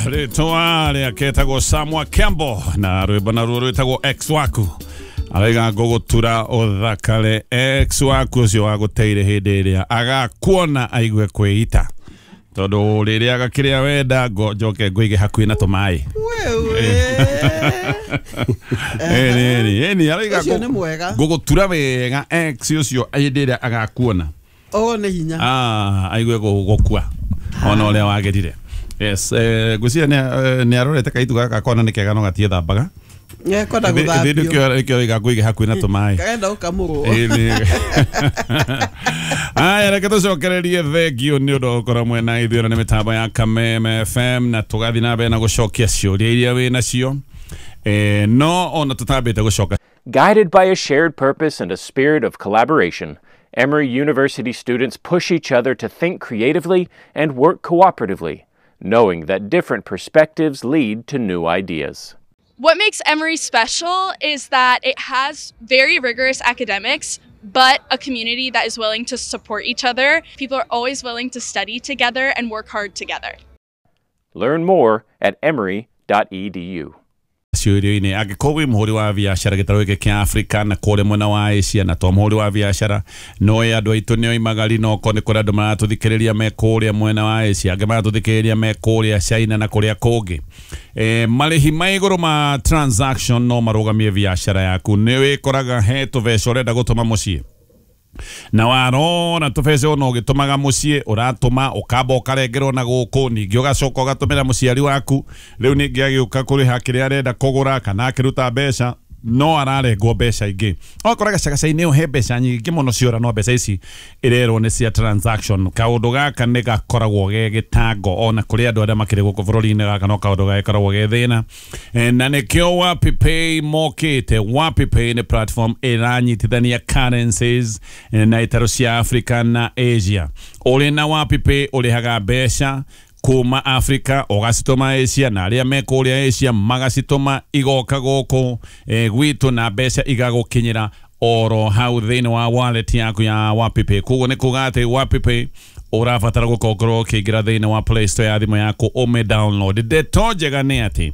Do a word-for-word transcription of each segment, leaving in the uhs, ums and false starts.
Rĩtwa rĩake etagwo Samwa Campbell na rwĩmbo naruo rwĩtagwo Ex Waku. Araiga ngũgũtura ũthakare ex waku ũcio wagũteire hĩndĩ ĩrĩa agakuona aigue kwĩita tondũ rĩrĩaga kĩrĩa wenda ngo njoke ngũige hakuhĩ na tũmaĩ. Wewe. Ĩni ĩni ĩni araiga Ũcio nĩ mwega. Ngũgũtura wega ex ũcio hĩndĩ ĩrĩa agakuona. Ũũ nĩ hinya. Ah, aigue gũkua ona ũrĩa wagĩrire. Yes, eh, ngwĩciria nĩ arorete kaitu gaka kona nĩ kega no gatiethambaga. Ngekwenda gũthambio. Nĩkĩo raiga ngũige hakuhĩ na tũmaĩ. Kaenda gũkamũrwo. Aya, reke tũcokererie thengio nĩ ũndũ wa gũkorwo mwena ithuĩ na nĩ mĩtambo ya Kameme F M na tũgathiĩ na mbere na gũcokia ciũria iria wĩ nacio. Eh, no ona tũtambĩte gũcoka. Guided by a shared purpose and a spirit of collaboration, Emory University students push each other to think creatively and work cooperatively, knowing that different perspectives lead to new ideas. What makes Emory special is that it has very rigorous academics, but a community that is willing to support each other. People are always willing to study together and work hard together. Learn more at emory dot e d u. Ciũria-inĩ angĩkorwo wĩ mũhũri wa biacara gĩtarũ gĩkĩ kĩa Afrika na kũrĩa mwena wa Asia na to mũhũri wa biacara no andũ aitũ nĩ oimagari no okorwo nĩ kũrĩ andũ maratũthikĩrĩria me kũrĩa mwena wa Asia angĩ maratũthikĩrĩria me kũrĩa China na kũrĩa kũngĩ. Eh, marĩhi ma igũrũ ma transaction no marũgamie biacara yaku. Nĩ wĩkoraga he tũbeca ũrenda gũtũma mũciĩ na warora tũbeca ona ũgĩtũmaga mũciĩ ũratũma ũkamba ũkarengerwo na gũkũ ningĩ ũgacoka ũgatũmĩra mũciari waku rĩu ningĩ agĩũka kũrĩha kĩrĩa arenda kũgũra kana akĩruta mbeca no ararengwo mbeca ingĩ. Ũgakora gacagaca-inĩ ĩyo he mbeca nyingĩ mũno ciora no mbeca ici ĩrerwo nĩ cia transaction. Kaũndũ gaka nĩ gakoragwo ge gĩtango ona kũrĩ andũ arĩa makĩrĩ gũkũ bũrũri-inĩ gaka no kaũndũ gagĩkoragwo ge thĩna. Na nĩkĩo WapiPay mokĩte. WapiPay nĩ platform ĩranyitithania currencies na itaro cia Africa na Asia. Ũrĩ na WapiPay ũrĩhaga mbeca kuma Africa ũgacitũma Asia na arĩa me kũrĩa Asia magacitũma igoka gũkũ eh, gwitũ na mbeca igagũkinyĩra oro hau thĩinĩ wa wallet yaku ya WapiPay. Koguo nĩ kuga atĩ WapiPay ũrabatara gũkorwo ũkĩingĩra thĩinĩ wa Play Store ya thimũ yaku ũmĩ download. Ndeto njega nĩ atĩ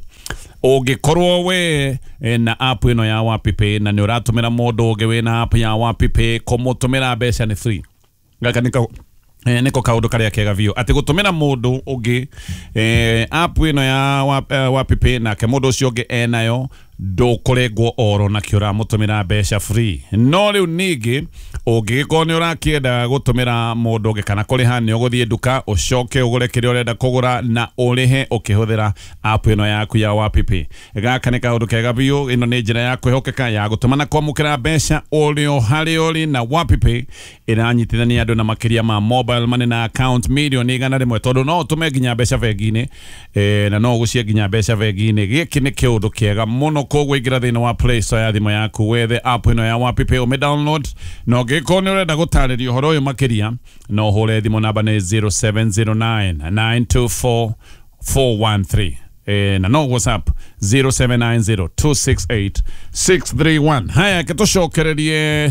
ũngĩkorwo we na app ĩno ya WapiPay na nĩ ũratũmĩra mũndũ ũngĩ wĩna app ya WapiPay kũmũtũmĩra mbeca nĩ free. Gaka nĩko Eh, niko kaundu karia kega biũ atĩ gũtũmĩra mũndũ ũngĩ eh, app ĩno ya WapiPay nake mũndũ ũcio ũngĩ enayo ndũkũrengwo oro nakĩo ũramũtũmĩra mbeca free. No rĩu ningĩ ũngĩgĩkorwo nĩ ũrakĩenda gũtũmĩra mũndũ ũngĩ kana kũrĩha nĩ ũgũthiĩ nduka ũcoke ũgũre kĩrĩa ũrenda kũgũra na ũrĩhe ũkĩhũthĩra app ĩno yaku ya WapiPay. Gaka nĩ kaũndũ kega biũ. Ĩno nĩ njĩra ya kwĩhokeka ya gũtũma na kwamũkĩra mbeca ũrĩ o harĩa ũrĩ na WapiPay ĩranyitithania andũ na makĩria ma mobile money na account milioni igana rĩmwe tondũ no ũtũme nginya mbeca bengi-inĩ eh, na no ũgũcie nginya mbeca bengi-inĩ. Gĩkĩ nĩ kĩũndũ kĩega mũno. Koguo ingĩra thĩinĩ wa Play Store ya thimũ yaku wethe app ĩno ya WapiPay ũmĩ download na ũngĩkorwo nĩ ũrenda gũtarĩrio ũhoro ũyũ makĩria no ũhũre thimũ namba nĩ zero seven zero nine nine two four four one three eh, na no WhatsApp zero seven nine zero two six eight six three one. Haya, tũcokererie.